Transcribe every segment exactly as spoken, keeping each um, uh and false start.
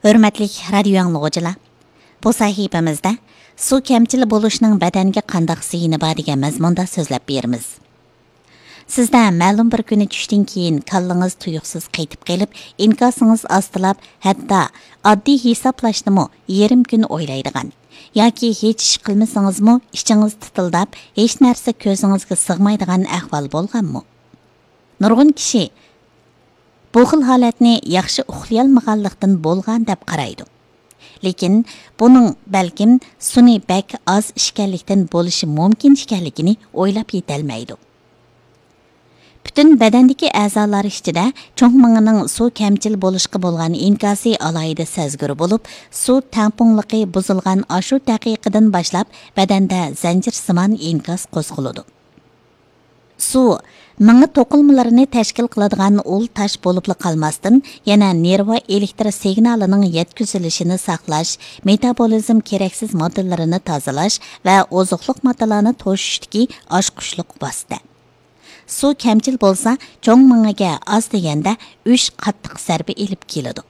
ھۆرمەتلىك رادىيو ئاڭلىغۇچىلار، بۇ سەھىپىمىزدە سۇ كەمچىل بولۇشنىڭ بەدەنگە قانداق زىيىنى بار دېگەن مەزمۇندا سۆزلەپ بېرىمىز. سىزدە مەلۇم بىر كۈنى چۈشتىن كېيىن كاللىڭىز تۇيۇقسىز قېتىپ قېلىپ، ئىنكاسىڭىز ئاستىلاپ، ھەتتا ئاددىي ھېسابلاشنىمۇ يېرىم كۈن ئويلايدىغان ياكى ھېچ ئىش قىلمىسىڭىزمۇ ئىچىڭىز تىتىلداپ، ھېچ نەرسە كۆزىڭىزگە سىغمايدىغان ئەھۋال بولغانمۇ؟ نۇرغۇن كىشى بۇ خىل ھالەتنى ياخشى ئۇخلىيالمىغانلىقتىن بولغان دەپ قارايدۇ. لېكىن بۇنىڭ بەلكىم سۇنى بەك ئاز ئىچكەنلىكتىن بولۇشى مۇمكىن ئىكەنلىكىنى ئويلاپ يېتەلمەيدۇ. پۈتۈن بەدەندىكى ئەزالار ئىچىدە چوڭ مېڭىنىڭ سۇ كەمچىل بولۇشقا بولغان ئىنكاسى ئالاھىدە سەزگۈر بولۇپ، سۇ تەڭپۇڭلۇقى بۇزۇلغان ئاشۇ دەقىقىدىن باشلاپ بەدەندە زەنجىرسىمان ئىنكاس قوزغىلىدۇ. سۇ مېڭە توقۇلمىلىرىنى تەشكىل قىلىدىغان ئۇل تاش بولۇپلا قالماستىن، يەنە نېرۋا ئېلېكتر سىگنالىنىڭ يەتكۈزۈلۈشىنى ساقلاش، مېتابولىزم كېرەكسىز ماددىلىرىنى تازىلاش ۋە ئوزۇقلۇق ماددىلارنى توشۇشتىكى ئاچقۇچلۇق ۋاسىتە. سۇ كەمچىل بولسا، چوڭ مېڭىگە ئاز دېگەندە ئۈچ قاتتىق زەربە ئېلىپ كېلىدۇ.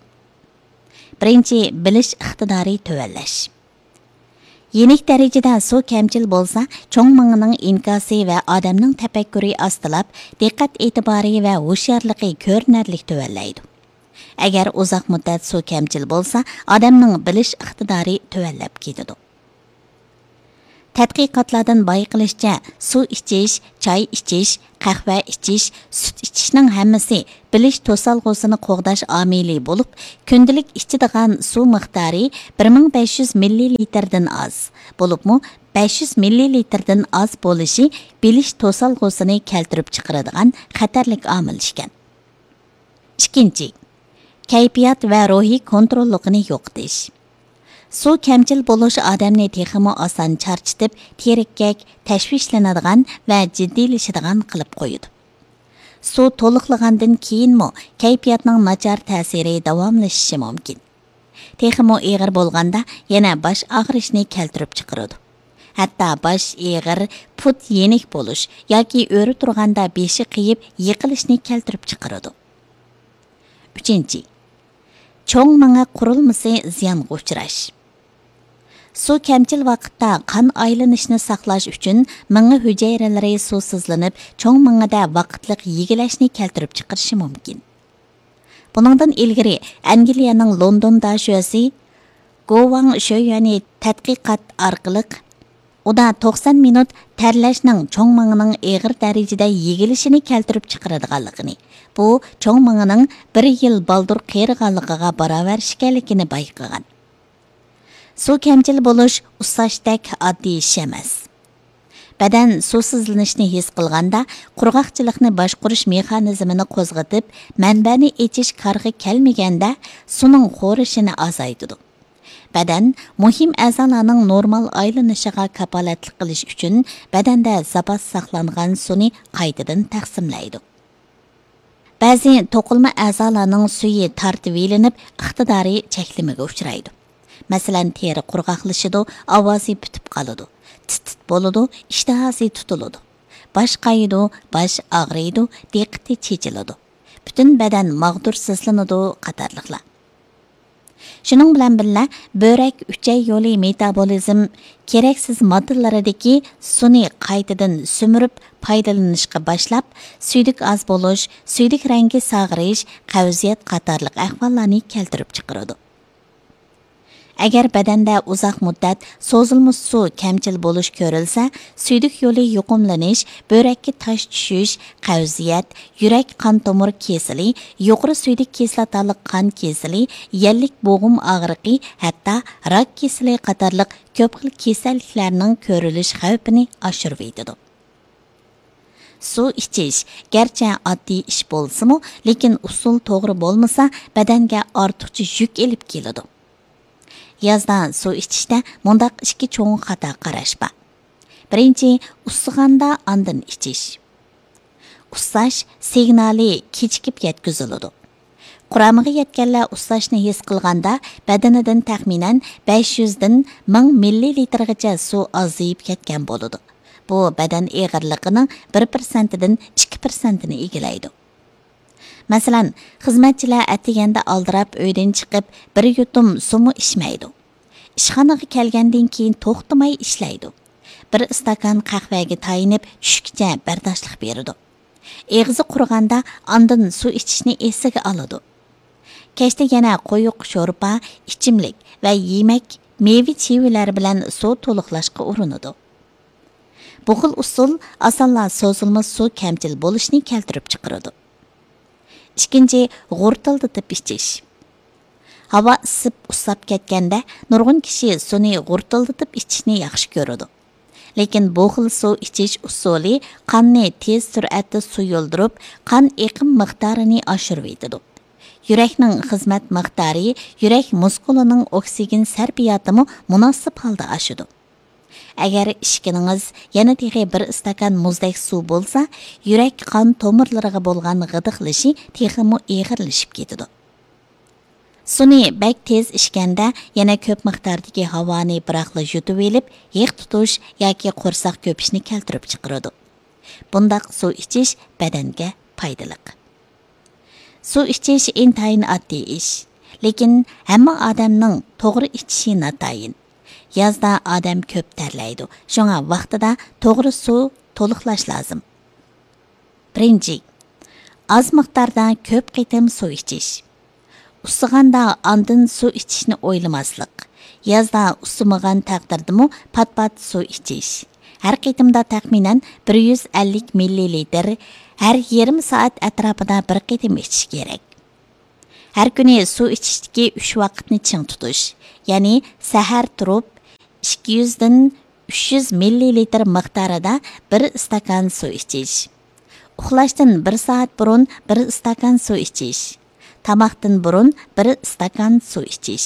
بىرىنچى، بىلىش ئىقتىدارى تۆۋەنلەش. يېنىك دەرىجىدە سۇ كەمچىل بولسا، چوڭ مېڭىنىڭ ئىنكاسى ۋە ئادەمنىڭ تەپەككۇرى ئاستىلاپ، دىققەت ئېتىبارى ۋە ھوشيارلىقى كۆرۈنەرلىك تۆۋەنلەيدۇ. ئەگەر ئۇزاق مۇددەت سۇ كەمچىل بولسا، ئادەمنىڭ بىلىش ئىقتىدارى تۆۋەنلەپ كېتىدۇ. تەتقىقاتلاردىن بايقىلىشىچە، سۇ ئىچىش، چاي ئىچىش، قەھۋە ئىچىش، سۈت ئىچىشنىڭ ھەممىسى بىلىش توسالغۇسىنى قوغداش ئامىلى بولۇپ، كۈندىلىك ئىچىدىغان سۇ مىقدارى بىر مىڭ بەش يۈز مىللىلىتىردىن ئاز، بولۇپمۇ بەش يۈز مىللىلىتىردىن ئاز بولۇشى بىلىش توسالغۇسىنى كەلتۈرۈپ چىقىرىدىغان خەتەرلىك ئامىل ئىكەن. ئىككىنچى، كەيپىيات ۋە روھىي كونتروللۇقىنى يوقىتىش. سۇ كەمچىل بولۇش ئادەمنى تېخىمۇ ئاسان چارچىتىپ، تېرىككەك، تەشۋىشلىنىدىغان ۋە جىددىيلىشىدىغان قىلىپ قويىدۇ. سۇ تولۇقلىغاندىن كېيىنمۇ كەيپىياتنىڭ ناچار تەسىرى داۋاملىشىشى مۇمكىن. تېخىمۇ ئېغىر بولغاندا يەنە باش ئاغرىشنى كەلتۈرۈپ چىقىرىدۇ. ھەتتا باش ئېغىر، پۇت يېنىك بولۇش ياكى ئۆرە تۇرغاندا بېشى قېيىپ يىقىلىشنى كەلتۈرۈپ چىقىرىدۇ. ئۈچىنچى، چوڭ مېڭە قۇرۇلمىسى زىيانغا ئۇچراش. سۇ كەمچىل ۋاقىتتا قان ئايلىنىشنى ساقلاش ئۈچۈن مېڭە ھۈجەيرىلىرى سۇسىزلىنىپ، چوڭ مېڭىدە ۋاقىتلىق يېگىلەشنى كەلتۈرۈپ چىقىرىشى مۇمكىن. بۇنىڭدىن ئىلگىرى ئەنگلىيەنىڭ لوندون داشۆسى گوۋاڭ شۆيۈەنى تەتقىقات ئارقىلىق ئۇدا توقسان مىنۇت تەرلەشنىڭ چوڭ مېڭىنىڭ ئېغىر دەرىجىدە يېگىلىشىنى كەلتۈرۈپ چىقىرىدىغانلىقىنى، بۇ چوڭ مېڭىنىڭ بىر يىل بالدۇر قېرىغانلىقىغا باراۋەر ئىكەنلىكىنى بايقىغان. سۇ كەمچىل بولۇش ئۇسساشتەك ئاددىي ئىش ئەمەس. بەدەن سۇسىزلىنىشنى ھېس قىلغاندا، قۇرغاقچىلىقنى باشقۇرۇش مېخانىزمىنى قوزغىتىپ، مەنبەنى ئېچىش كارغا كەلمىگەندە، سۇنىڭ خورىشىنى ئازايتىدۇ. بەدەن مۇھىم ئەزالارنىڭ نورمال ئايلىنىشىغا كاپالەتلىك قىلىش ئۈچۈن بەدەندە زاپاس ساقلانغان سۇنى قايتىدىن تەقسىملەيدۇ. بەزى توقۇلما ئەزالارنىڭ سۈيى تارتىۋېلىنىپ، ئىقتىدارى چەكلىمىگە ئۇچرايدۇ. مەسىلەن، تېرە قۇرغاقلىشىدۇ، ئاۋازى پۈتۈپ قالىدۇ، تىت-تىت بولىدۇ، ئىشتىھاسى تۇتۇلىدۇ، باش قايىدۇ، باش ئاغرىيدۇ، دىققىتى چېچىلىدۇ، پۈتۈن بەدەن ماغدۇرسىزلىنىدۇ قاتارلىقلار. شۇنىڭ بىلەن بىللە، بۆرەك ئۈچەي يولى مېتابولىزم كېرەكسىز ماددىلىرىدىكى سۇنى قايتىدىن سۈمۈرۈپ پايدىلىنىشقا باشلاپ، سۈيدۈك ئاز بولۇش، سۈيدۈك رەڭگى ساغىرىش، قەۋزىيەت قاتارلىق ئەھۋاللارنى كەلتۈرۈپ چىقىرىدۇ. ئەگەر بەدەندە ئۇزاق مۇددەت سوزۇلما سۇ كەمچىل بولۇش كۆرۈلسە، سۈيدۈك يولى يۇقۇملىنىش، بۆرەككە تاش چۈشۈش، قەۋزىيەت، يۈرەك قان تومۇر كېسىلى، يۇقىرى سۈيدۈك كىسلاتالىق قان كېسىلى، يەللىك بوغۇم ئاغرىقى، ھەتتا راك كېسىلى قاتارلىق كۆپ خىل كېسەللىكلەرنىڭ كۆرۈلۈش خەۋپىنى ئاشۇرۇۋېتىدۇ. سۇ ئىچىش گەرچە ئاددىي ئىش بولسىمۇ، لېكىن ئۇسۇل توغرا بولمىسا، بەدەنگە ئارتۇقچە يۈك ئېلىپ كېلىدۇ. يازدا سۇ ئىچىشتە مۇنداق ئىككى چوڭ خاتا قاراش بار. بىرىنچى، ئۇسسىغاندا ئاندىن ئىچىش. ئۇسساش سىگنالى كېچىكىپ يەتكۈزۈلىدۇ. قۇرامىغا يەتكەنلەر ئۇسساشنى ھېس قىلغاندا، بەدىنىدىن تەخمىنەن بەش يۈزدىن مىڭ مىللىلىتىرغىچە سۇ ئازىيىپ كەتكەن بولىدۇ. بۇ بەدەن ئېغىرلىقىنىڭ بىر پىرسەنتىدىن ئىككى پىرسەنتىنى ئىگىلەيدۇ. مەسىلەن، خىزمەتچىلەر ئەتىگەندە ئالدىراپ ئۆيدىن چىقىپ، بىر يۇتۇم سۇمۇ ئىچمەيدۇ. ئىشخانىغا كەلگەندىن كېيىن توختىماي ئىشلەيدۇ. بىر ئىستاكان قەھۋەگە تايىنىپ، چۈشكىچە بەرداشلىق بېرىدۇ. ئېغىزى قۇرۇغاندا ئاندىن سۇ ئىچىشنى ئېسىگە ئالىدۇ. كەچتە يەنە قويۇق شورپا، ئىچىملىك ۋە يېمەك، مېۋە-چىۋىلەر بىلەن سۇ تولۇقلاشقا ئۇرۇنىدۇ. بۇ خىل ئۇسۇل ئاسانلا سوزۇلما سۇ كەمچىل بولۇشنى كەلتۈرۈپ چىقىرىدۇ. ئىككىنچى، غۇرتۇلدىتىپ ئىچىش. ھاۋا ئىسسىپ، ئۇسساپ كەتكەندە، نۇرغۇن كىشى سۇنى غۇرتۇلدىتىپ ئىچىشنى ياخشى كۆرىدۇ. لېكىن بۇ خىل سۇ ئىچىش ئۇسۇلى قاننى تېز سۈرئەتتە سۇيۇلدۇرۇپ، قان ئېقىم مىقدارىنى ئاشۇرۇۋېتىدۇ. يۈرەكنىڭ خىزمەت مىقدارى، يۈرەك مۇسكۇلىنىڭ ئوكسىگېن سەرپىياتىمۇ مۇناسىپ ھالدا ئاشىدۇ. ئەگەر ئىچكىنىڭىز يەنە تېخى بىر ئىستاكان مۇزدەك سۇ بولسا، يۈرەك قان تومۇرلىرىغا بولغان غىدىقلىشى تېخىمۇ ئېغىرلىشىپ كېتىدۇ. سۇنى بەك تېز ئىچكەندە، يەنە كۆپ مىقداردىكى ھاۋانى بىراقلا يۇتۇۋېلىپ، ھېق تۇتۇش ياكى قورساق كۆپۈشنى كەلتۈرۈپ چىقىرىدۇ. بۇنداق سۇ ئىچىش بەدەنگە پايدىلىق. سۇ ئىچىش ئىنتايىن ئاددىي ئىش، لېكىن ھەممە ئادەمنىڭ توغرا ئىچىشى ناتايىن. يازدا ئادەم كۆپ تەرلەيدۇ، شۇڭا ۋاقتىدا توغرا سۇ تولۇقلاش لازىم. بىرىنچى، ئاز مىقداردا كۆپ قېتىم سۇ ئىچىش. ئۇسسىغاندا ئاندىن سۇ ئىچىشنى ئويلىماسلىق. يازدا ئۇسسىمىغان تەقدىردىمۇ پات-پات سۇ ئىچىش. ھەر قېتىمدا تەخمىنەن بىر يۈز ئەللىك مىللىلىتىر، ھەر يېرىم سائەت ئەتراپىدا بىر قېتىم ئىچىش كېرەك. ھەر كۈنى سۇ ئىچىشتىكى ئۈچ ۋاقىتنى چىڭ تۇتۇش، يەنى سەھەر تۇرۇپ، ئىككى يۈزدىن ئۈچ يۈز مىللىلىتىر مىقدارىدا بىر ئىستاكان سۇ ئىچىش. ئۇخلاشتىن بىر سائەت بۇرۇن بىر ئىستاكان سۇ ئىچىش. تاماقتىن بۇرۇن بىر ئىستاكان سۇ ئىچىش.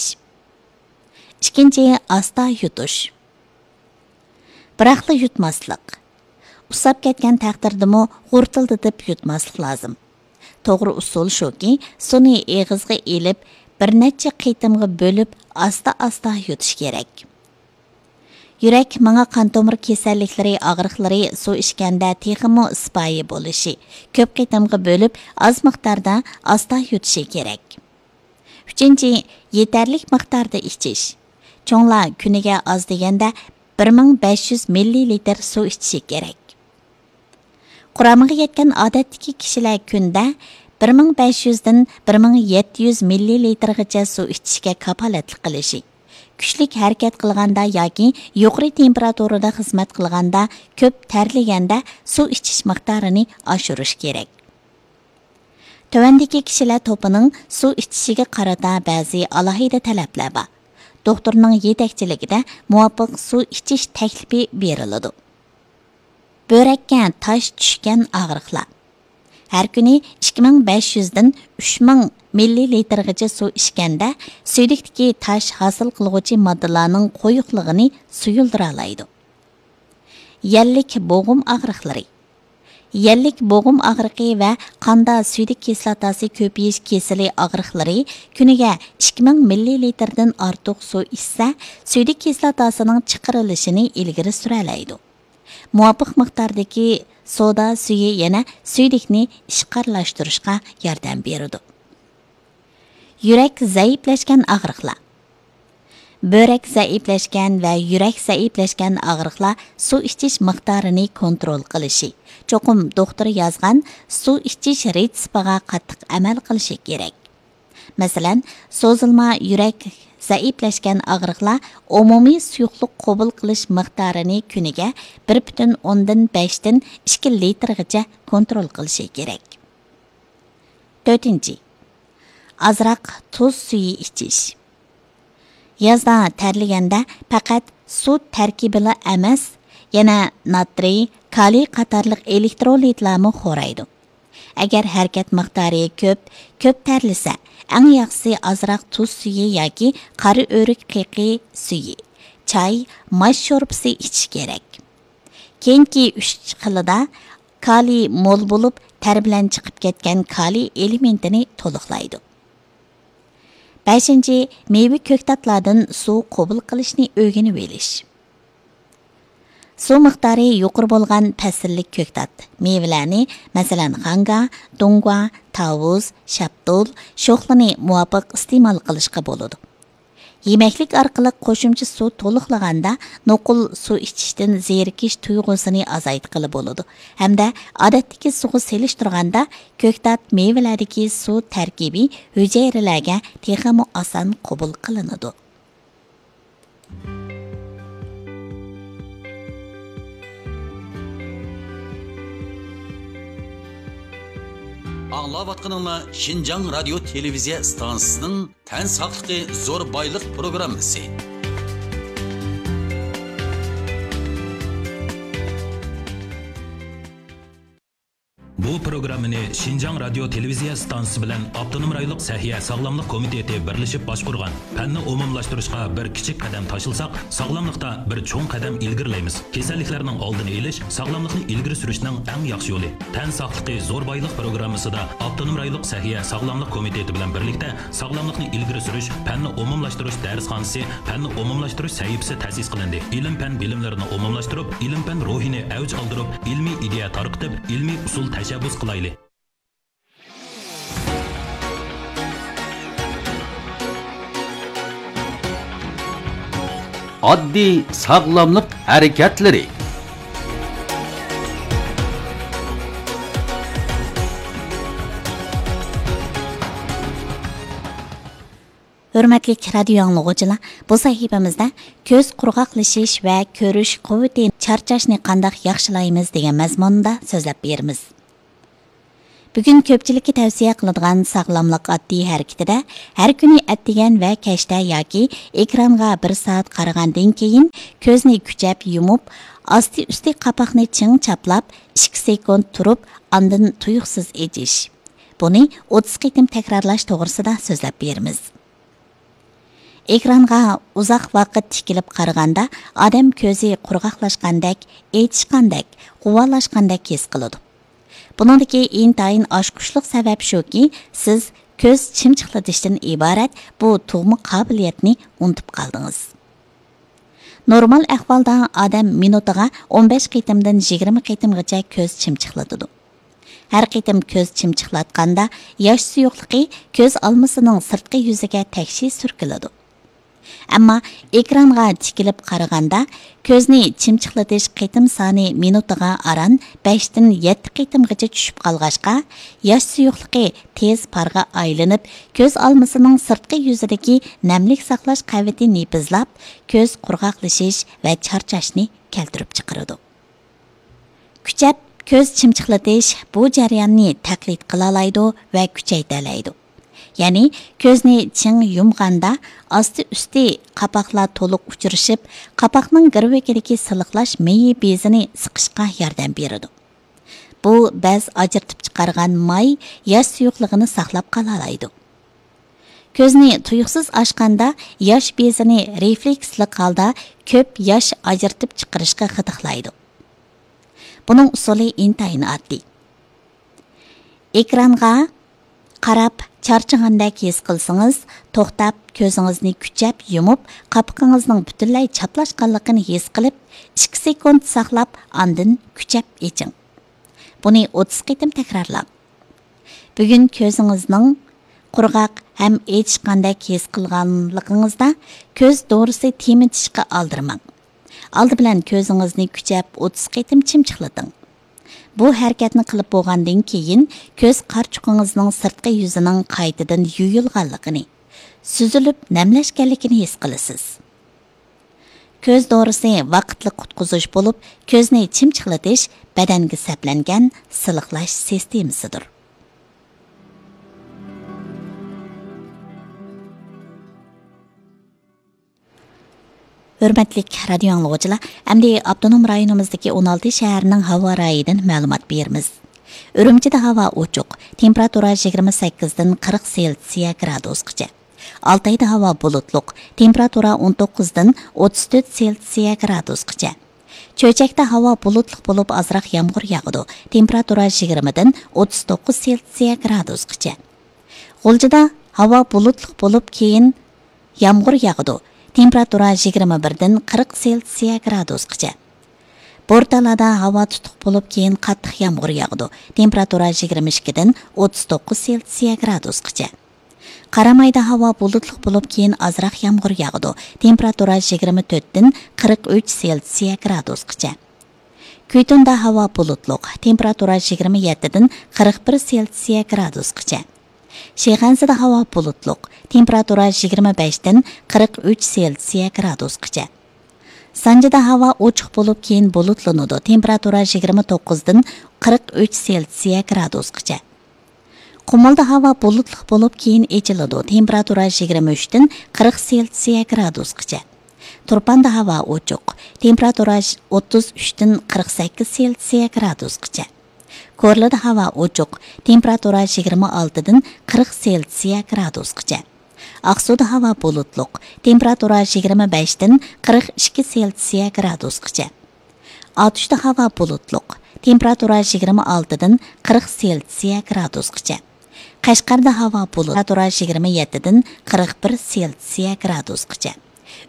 ئىككىنچى، ئاستا يۇتۇش. بىراقلا يۇتماسلىق. ئۇسساپ كەتكەن تەقدىردىمۇ غۇرتۇلدىتىپ يۇتماسلىق لازىم. توغرا ئۇسۇل شۇكى، سۇنى ئېغىزغا ئېلىپ، بىر نەچچە قېتىمغا بۆلۈپ، ئاستا-ئاستا يۇتۇش كېرەك. يۈرەك، مېڭە، قان تومۇر كېسەللىكلىرى، ئاغرىقلىرى سۇ ئىچكەندە تېخىمۇ سىپايى بولۇشى، كۆپ قېتىمغا بۆلۈپ، ئاز مىقداردا ئاستا يۇتۇشى كېرەك. ئۈچىنچى، يېتەرلىك مىقداردا ئىچىش. چوڭلار كۈنىگە ئاز دېگەندە بىر مىڭ بەش يۈز مىللىلىتىر سۇ ئىچىشى كېرەك. قۇرامىغا يەتكەن ئادەتتىكى كىشىلەر كۈندە بىر مىڭ بەش يۈزدىن بىر مىڭ يەتتە يۈز مىللىلىتىرغىچە سۇ ئىچىشكە كاپالەتلىك قىلىشى، كۈچلۈك ھەرىكەت قىلغاندا ياكى يۇقىرى تېمپېراتۇرىدا خىزمەت قىلغاندا، كۆپ تەرلىگەندە سۇ ئىچىش مىقدارىنى ئاشۇرۇش كېرەك. تۆۋەندىكى كىشىلەر توپىنىڭ سۇ ئىچىشىگە قارىتا بەزى ئالاھىدە تەلەپلەر بار. دوختۇرنىڭ يېتەكچىلىكىدە مۇۋاپىق سۇ ئىچىش تەكلىپى بېرىلىدۇ. بۆرەككە تاش چۈشكەن ئاغرىقلار. ھەر كۈنى ئىككى مىڭ بەش يۈزدىن ئۈچ مىڭ مىللىلىتىرغىچە سۇ ئىچكەندە، سۈيدۈكتىكى تاش ھاسىل قىلغۇچى ماددىلارنىڭ قويۇقلۇقىنى سۇيۇلدۇرالايدۇ. يەللىك بوغۇم ئاغرىقلىرى. يەللىك بوغۇم ئاغرىقى ۋە قاندا سۈيدۈك كىسلاتاسى كۆپىيىش كېسىلى ئاغرىقلىرى كۈنىگە ئىككى مىڭ مىللىلىتىردىن ئارتۇق سۇ ئىچسە، سۈيدۈك كىسلاتاسىنىڭ چىقىرىلىشىنى ئىلگىرى سۈرەلەيدۇ. مۇۋاپىق مىقداردىكى سودا سۈيى يەنە سۈيدۈكنى ئىشقارلاشتۇرۇشقا ياردەم بېرىدۇ. يۈرەك زەئىپلەشكەن ئاغرىقلار. بۆرەك زەئىپلەشكەن ۋە يۈرەك زەئىپلەشكەن ئاغرىقلار سۇ ئىچىش مىقدارىنى كونترول قىلىشى، چوقۇم دوختۇر يازغان سۇ ئىچىش رېتسېپىغا قاتتىق ئەمەل قىلىشى كېرەك. مەسىلەن، سوزۇلما يۈرەك زەئىپلەشكەن ئاغرىقلار ئومۇمىي سۇيۇقلۇق قوبۇل قىلىش مىقدارىنى كۈنىگە بىر پۈتۈن ئوندىن بەشتىن ئىككى لىتىرغىچە كونترول قىلىشى كېرەك. تۆتىنچى، ئازراق تۇز سۈيى ئىچىش. يازدا تەرلىگەندە پەقەت سۇ تەركىبىلا ئەمەس، يەنە ناترىي، كالىي قاتارلىق ئېلېكترولىتلارمۇ خورايدۇ. ئەگەر ھەرىكەت مىقدارى كۆپ، كۆپ تەرلىسە، ئەڭ ياخشىسى ئازراق تۇز سۈيى ياكى قارا ئۆرۈك قېقى سۈيى، چاي، ماش شورپىسى ئىچىش كېرەك. كېيىنكى ئۈچ خىلىدا كالىي مول بولۇپ، تەر بىلەن چىقىپ كەتكەن كالىي ئېلېمېنتىنى تولۇقلايدۇ. بەشىنچى، مېۋە كۆكتاتلاردىن سۇ قوبۇل قىلىشنى ئۆگىنىۋېلىش. سۇ مىقدارى يۇقىرى بولغان پەسىللىك كۆكتات، مېۋىلەرنى، مەسىلەن، خاڭگا، دۇڭگۇا، تاۋۇز، شاپتۇل، شوخلىنى مۇۋاپىق ئىستېمال قىلىشقا بولىدۇ. يېمەكلىك ئارقىلىق قوشۇمچە سۇ تولۇقلىغاندا، نوقۇل سۇ ئىچىشتىن زېرىكىش تۇيغۇسىنى ئازايتقىلى بولىدۇ ھەمدە ئادەتتىكى سۇغا سېلىشتۇرغاندا، كۆكتات مېۋىلەردىكى سۇ تەركىبى ھۈجەيرىلەرگە تېخىمۇ ئاسان قوبۇل قىلىنىدۇ. ئاڭلاۋاتقىنىڭلار شىنجاڭ رادىيو تېلېۋىزىيە ئىستانسىسىنىڭ تەن ساقلىقى زور بايلىق پروگراممىسى. بۇ پروگراممىنى شىنجاڭ رادىيو تېلېۋىزىيە ئىستانسىسى بىلەن ئاپتونوم رايونلۇق سەھىيە ساغلاملىق كومىتېتى بىرلىشىپ باشقۇرغان. پەننى ئومۇملاشتۇرۇشقا بىر كىچىك قەدەم تاشلىساق، ساغلاملىقتا بىر چوڭ قەدەم ئىلگىرىلەيمىز. كېسەللىكلەرنىڭ ئالدىنى ئېلىش، ساغلاملىقنى ئىلگىرى سۈرۈشنىڭ ئەڭ ياخشى يولى. تەن ساقلىقى زور بايلىق پروگراممىسىدا ئاپتونوم رايونلۇق سەھىيە ساغلاملىق كومىتېتى بىلەن بىرلىكتە ساغلاملىقنى ئىلگىرى سۈرۈش، پەننى ئومۇملاشتۇرۇش دەرسخانىسى، پەننى ئومۇملاشتۇرۇش سەھىپىسى تەسىس قىلىندى. ئىلىم-پەن بىلىملىرىنى ئومۇملاشتۇرۇپ، ئىلىم-پەن روھىنى ئەۋج ئالدۇرۇپ، ئىلمىي ئىدىيە تارقىتىپ، ئىلمىي ئۇسۇل تەشەببۇس قىلايلى. ئاددىي ساغلاملىق ھەرىكەتلىرى. ھۆرمەتلىك رادىيو ئاڭلىغۇچىلار، بۇ سەھىپىمىزدە كۆز قۇرغاقلىشىش ۋە كۆرۈش قۇۋۋىتى، چارچاشنى قانداق ياخشىلايمىز دېگەن مەزمۇندا سۆزلەپ بېرىمىز. بۈگۈن كۆپچىلىككە تەۋسىيە قىلىدىغان ساغلاملىق ئاددىي ھەرىكىتىدە، ھەر كۈنى ئەتىگەن ۋە كەچتە ياكى ئېكرانغا بىر سائەت قارىغاندىن كېيىن كۆزنى كۈچەپ يۇمۇپ، ئاستى ئۈستى قاپاقنى چىڭ چاپلاپ، ئىككى سېكۇنت تۇرۇپ، ئاندىن تۇيۇقسىز ئېچىش. بۇنى ئوتتۇز قېتىم تەكرارلاش توغرىسىدا سۆزلەپ بېرىمىز. ئېكرانغا ئۇزاق ۋاقىت تىكىلىپ قارىغاندا، ئادەم كۆزى قۇرغاقلاشقاندەك، ئېچىشقاندەك، غۇۋالاشقاندەك ھېس قىلىدۇ. بۇنىڭدىكى ئىنتايىن ئاچقۇچلۇق سەۋەب شۇكى، سىز كۆز چىمچىقلىتىشتىن ئىبارەت بۇ تۇغما قابىلىيەتنى ئۇنتۇپ قالدىڭىز. نورمال ئەھۋالدا ئادەم مىنۇتىغا ئون بەش قېتىمدىن يىگىرمە قېتىمغىچە كۆز چىمچىقلىتىدۇ. ھەر قېتىم كۆز چىمچىقلاتقاندا، ياش سۇيۇقلۇقى كۆز ئالمىسىنىڭ سىرتقى يۈزىگە تەكشى سۈركىلىدۇ. ئەمما ئېكرانغا تىكىلىپ قارىغاندا، كۆزنى چىمچىقلىتىش قېتىم سانى مىنۇتىغا ئاران بەشتىن يەتتە قېتىمغىچە چۈشۈپ قالغاچقا، ياش سۇيۇقلۇقى تېز پارغا ئايلىنىپ، كۆز ئالمىسىنىڭ سىرتقى يۈزىدىكى نەملىك ساقلاش قەۋىتى نېپىزلاپ، كۆز قۇرغاقلىشىش ۋە چارچاشنى كەلتۈرۈپ چىقىرىدۇ. كۈچەپ كۆز چىمچىقلىتىش بۇ جەرياننى تەقلىد قىلالايدۇ ۋە كۈچەيتەلەيدۇ. يەنى كۆزنى چىڭ يۇمغاندا ئاستى ئۈستى قاپاقلار تولۇق ئۇچرىشىپ، قاپاقنىڭ گىرۋىكىدىكى سىلىقلاش مېيى بېزىنى سىقىشقا ياردەم بېرىدۇ. بۇ بەز ئاجرىتىپ چىقارغان ماي ياش سۇيۇقلۇقىنى ساقلاپ قالالايدۇ. كۆزنى تۇيۇقسىز ئاچقاندا ياش بېزىنى رېفلېكسلىق ھالدا كۆپ ياش ئاجرىتىپ چىقىرىشقا غىدىقلايدۇ. بۇنىڭ ئۇسۇلى ئىنتايىن ئاددىي. ئېكرانغا قاراپ چارچىغاندەك ھېس قىلسىڭىز، توختاپ كۆزىڭىزنى كۈچەپ يۇمۇپ، قاپىقىڭىزنىڭ پۈتۈنلەي چاپلاشقانلىقىنى ھېس قىلىپ، ئىككى سېكۇنت ساقلاپ، ئاندىن كۈچەپ ئېچىڭ. بۇنى ئوتتۇز قېتىم تەكرارلاڭ. بۈگۈن كۆزىڭىزنىڭ قۇرغاق ھەم ئېچىشقاندەك ھېس قىلغانلىقىڭىزدا، كۆز دورىسى تېمىتىشقا ئالدىرىماڭ. ئالدى بىلەن كۆزىڭىزنى كۈچەپ ئوتتۇز قېتىم چىمچىقلىتىڭ. بۇ ھەرىكەتنى قىلىپ بولغاندىن كېيىن، كۆز قارىچۇقىڭىزنىڭ سىرتقى يۈزىنىڭ قايتىدىن يۇيۇلغانلىقىنى، سۈزۈلۈپ نەملەشكەنلىكىنى ھېس قىلىسىز. كۆز دورىسى ۋاقىتلىق قۇتقۇزۇش بولۇپ، كۆزنى چىمچىقلىتىش بەدەنگە سەپلەنگەن سىلىقلاش سىستېمىسىدۇر. ھۆرمەتلىك رادىيو ئاڭلىغۇچىلار، ئەمدى ئاپتونوم رايونىمىزدىكى ئون ئالتە شەھەرنىڭ ھاۋا رايىدىن مەلۇمات بېرىمىز. ئۈرۈمچىدە ھاۋا ئوچۇق، تېمپېراتۇرا يىگىرمە سەككىزدىن قىرىق سېلسىيە گرادۇسقىچە. ئالتايدا ھاۋا بۇلۇتلۇق، تېمپېراتۇرا ئون توققۇزدىن ئوتتۇز تۆت سېلسىيە گرادۇسقىچە. چۆچەكتە ھاۋا بۇلۇتلۇق بولۇپ، ئازراق يامغۇر ياغىدۇ، تېمپېراتۇرا يىگىرمىدىن ئوتتۇز توققۇز سېلسىيە گرادۇسقىچە. غۇلجىدا ھاۋا بۇلۇتلۇق بولۇپ، كېيىن يامغۇر ياغىدۇ، تېمپېراتۇرا يىگىرمە بىردىن قىرىق سېلسىيە گرادۇسقىچە. بورتالادا ھاۋا تۇتۇق بولۇپ، كېيىن قاتتىق يامغۇر ياغىدۇ. تېمپېراتۇرا يىگىرمە ئىككىدىن ئوتتۇز توققۇز سېلسىيە گرادۇسقىچە. قارامايدا ھاۋا بۇلۇتلۇق بولۇپ، كېيىن ئازراق يامغۇر ياغىدۇ. تېمپېراتۇرا يىگىرمە تۆتتىن قىرىق ئۈچ سېلسىيە گرادۇسقىچە. كۈيتۇندا ھاۋا بۇلۇتلۇق، تېمپېراتۇرا يىگىرمە يەتتىدىن قىرىق بىر سېلسىيە گرادۇسقىچە. شىخەنزىدە ھاۋا بۇلۇتلۇق، تېمپېراتۇرا يىگىرمە بەشتىن قىرىق ئۈچ سېلسىيە گرادۇسقىچە. سانجىدا ھاۋا ئوچۇق بولۇپ، كېيىن بۇلۇتلىنىدۇ، تېمپېراتۇرا يىگىرمە توققۇزدىن قىرىق ئۈچ سېلسىيە گرادۇسقىچە. قۇمۇلدا ھاۋا بۇلۇتلۇق بولۇپ، كېيىن ئېچىلىدۇ، تېمپېراتۇرا يىگىرمە ئۈچتىن قىرىق سېلسىيە گرادۇسقىچە. تۇرپاندا ھاۋا ئوچۇق، تېمپېراتۇرا ئوتتۇز ئۈچتىن قىرىق سەككىز سېلسىيە گرادۇسقىچە. كورلىدا ھاۋا ئوچۇق، تېمپېراتۇرا يىگىرمە ئالتىدىن قىرىق سېلسىيە گرادۇسقىچە. ئاقسۇدا ھاۋا بۇلۇتلۇق، تېمپېراتۇرا يىگىرمە بەشتىن قىرىق ئىككى سېلسىيە گرادۇسقىچە. ئاتۇشتا ھاۋا بۇلۇتلۇق، تېمپېراتۇرا يىگىرمە ئالتىدىن قىرىق سېلسىيە گرادۇسقىچە. قەشقەردە ھاۋا بۇلۇت، تېمپېراتۇرا يىگىرمە يەتتىدىن قىرىق بىر سېلسىيە گرادۇسقىچە.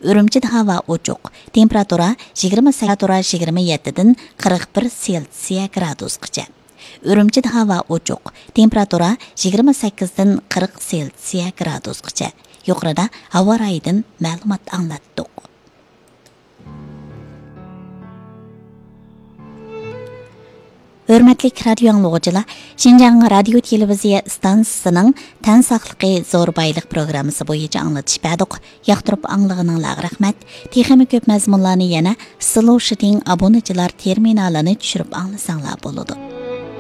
ئۈرۈمچىدە ھاۋا ئوچۇق، تېمپېراتۇرا يىگىرمە سەككىز، يىگىرمە يەتتىدىن قىرىق بىر سېلسىيە گرادۇسقىچە. ئۈرۈمچىدە ھاۋا ئوچۇق، تېمپېراتۇرا يىگىرمە سەككىزدىن قىرىق سېلسىيە گرادۇسقىچە. يۇقىرىدا ھاۋا رايىدىن مەلۇمات ئاڭلاتتۇق. ھۆرمەتلىك رادىيو ئاڭلىغۇچىلار، شىنجاڭ رادىيو تېلېۋىزىيە ئىستانسىسىنىڭ تەن ساقلىقى زور بايلىق پروگراممىسى بويىچە ئاڭلىتىش بەردۇق. ياقتۇرۇپ ئاڭلىغىنىڭلارغا رەھمەت. تېخىمۇ كۆپ مەزمۇنلارنى يەنە سلوشىتىڭ ئابۇنىچىلار تېرمىنالىنى چۈشۈرۈپ ئاڭلىساڭلار بولىدۇ.